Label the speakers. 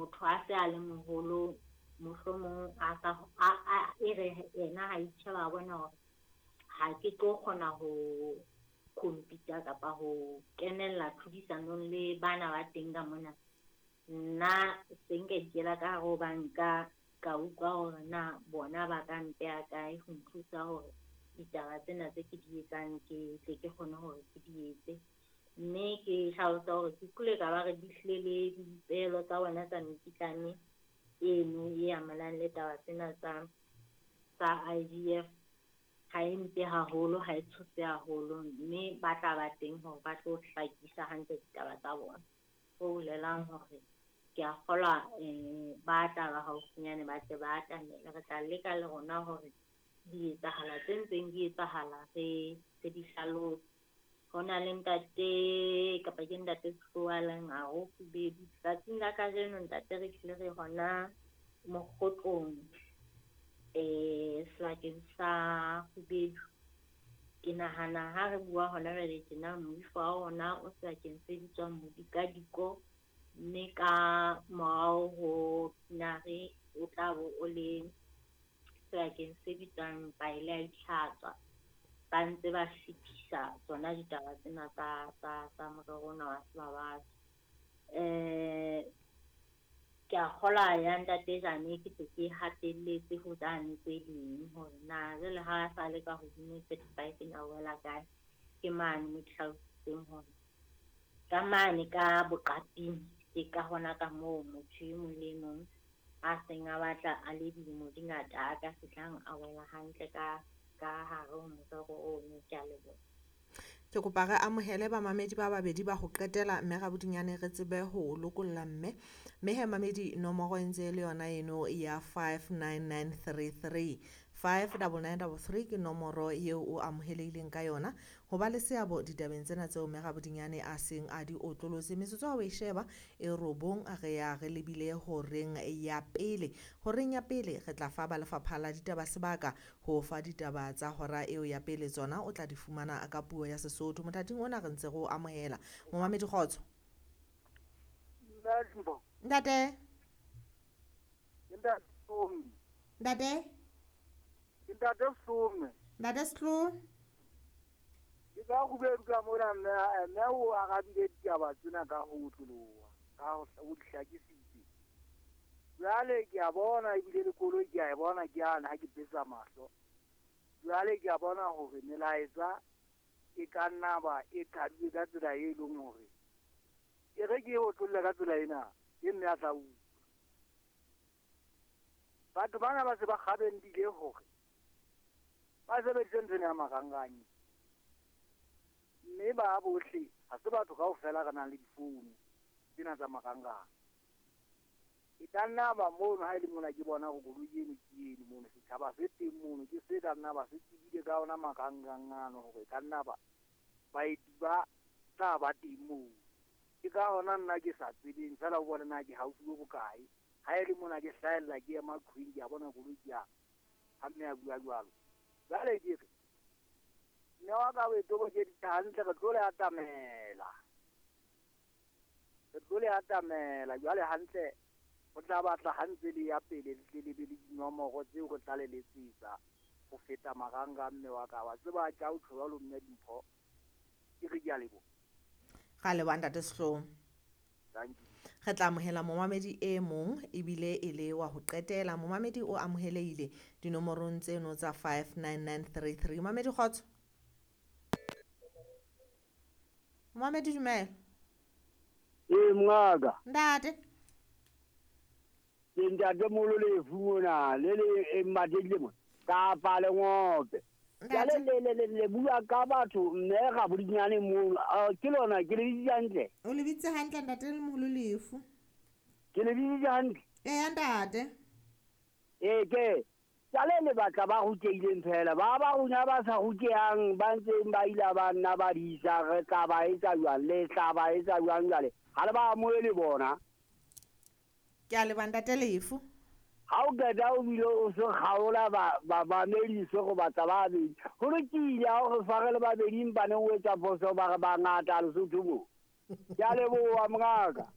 Speaker 1: Motho a se a le moholo, mohlomong a sa a e re yena ha itjheba a bona hore ha ke tlo kgona ho compete kapa ho kenella tlhodisanong le bana ba teng ka mona. Nna se nka ikela ka hare ho banka, ka utlwa hore na bona ba ka mpeha kae ho nthusa hore ditaba tsena tse ke di etsang ke tle ke kgone hore ke di etse. Mme ke hlalosa hore ke utlwile ka ba re di hlile le dipehelo tsa bona tsa mekitlane eno e amanang le taba tsena tsa IVF. Ha e mpe haholo, ha e tshose haholo, mme ba tla ba teng hore ba tlo hlakisa hantle ditaba tsa bona. Ho bolelang hore ke a kgolwa ba tla ba haufinyane ba tle ba atamele. Re tla leka le rona hore dietsahala tse ntseng di etsahala re di hlalose. Ho na le ntate kapa ke ntate Tsoalang a re o kgubedu. Tsatsing la kajeno ntate re hlile re hona mokgotlong sebakeng sa Kgubedu. Ke nahana ha re bua hona jwale tjena moifo wa rona o sebakeng se bitswang Modikadiko, mme ka morao ho Tinare o tla bo o le sebakeng se bitswang Paele a Itlhatswa. Ba ntse ba fetisa tsona ditaba tsena tsa morero ona wa Sebabatso. Ke a kgolwa ya ntate Jane ke se ke hatelletse ho tsane tse ding hore na jwale ha sa le ka hodimo 35 ena wela kae. Ke mane mo ke hlalositseng hore ka mane ka boqaping ke ka hona ka moo motho e mong le e mong a seng a batla a le dilemo di ngata a ka fihlang a wela hantle ka hare ho morero ono. Ke a leboha.
Speaker 2: Ke kopa re amohele bamamedi ba babedi ba ho qetela mme Rabodinyane re tsebe ho lokolla mme. Mme he mamedi nomoro e ntse e le yona eno ya 59933. 59933 ke nomoro eo o amohelehileng ka yona ho ba le seabo ditabeng tsena tseo mme Rabodinyane a seng a di otlolotse. Metsotso ha o e sheba e 9 re ya re lebile horeng ya pele. Horeng ya pele re tla fa ba lefapha la ditaba sebaka ho fa ditaba tsa hora eo ya pele, tsona o tla di fumana ka puo ya Sesotho. Mothating ona re ntse re o amohela. Momamedi kgotso. Ntate. Ntate.
Speaker 3: Ntate Some.
Speaker 2: Ntate Slo.
Speaker 3: Ke ka Kgubedu ka mona mme o arabile ditaba tsena ka ho otloloha, ka ho di hlakisitse. Jwale ke a bona ebile le koloi ke a e bona ke ana ha ke betsa mahlo. Jwale ke a bona hore melaetsa e ka nna ba e qadile ka tsela e leng hore e re ke e otlolle ka tsela ena e mme a tla utlwa. Batho bana ba se ba kgabendile hore ba sebedise ntho ena ya marangrang, mme ba bohle ha se batho kaofela re nang le difounu tsena tsa marangrang. E ka nna ba mono ha e le mona ke bona hore koloi eno ke eno mono, setjhaba se teng mono ke se ka nna ba se tsebile ka ona marangrang ano hore e ka nna ba baeti ba tla ba teng moo. Ke ka hona nna ke sa tsebeng feela ho bona na ke haufi bo bokae. Ha e le mona ke hlahella ke ema qhweng ke a bona koloi ke a ha mme a bua jwalo. Jwale ke re mme wa ka o e tobokeditse hantle, re tlo le atamela. Re tlo le atamela jwale hantle ho tla batla ha ntse le ya pele le tle le be le dinomoro tseo re tla le letsetsa ho feta marangrang mme wa ka. Wa tseba ke a o tjho jwalo mme Dimpho, ke re ke a leboha.
Speaker 2: Ra leboha ntate Sehloho.
Speaker 3: Thank you.
Speaker 2: Re tla amohela momamedi e mong ebile e le wa ho qetela. Momamedi o amohelehile dinomorong tseno tsa 59933. Momamedi kgotso. Momamedi dumela.
Speaker 3: Ee mongaka.
Speaker 2: Ntate.
Speaker 3: Ke ntate Molo Lefu mona le le Mmathekile mona kapa Lengope. Jwale le bua ka batho mme Rabodinyane mono. Ke lona ke le bitsitse hantle.
Speaker 2: O le bitsitse hantle ntate Molo Lefu.
Speaker 3: Ke le bitsitse hantle.
Speaker 2: Ee ntate.
Speaker 3: Ee ke jwale le batla ba rutehileng fela ba ba rona ba sa rutehang ba ntseng ba ila ba nna ba disa re tla ba etsa jwang le tla ba etsa jwang jwale ha le ba amohele bona.
Speaker 2: Ke a leboha ntate Lefu.
Speaker 3: Ha o qeta o bile o se kgaola bamamedi go batla ba babedi. Ho lokile ha o re tshware le babedi empa neng o etsa phoso ba re bangata Lesotho mo. Ke a leboha mongaka.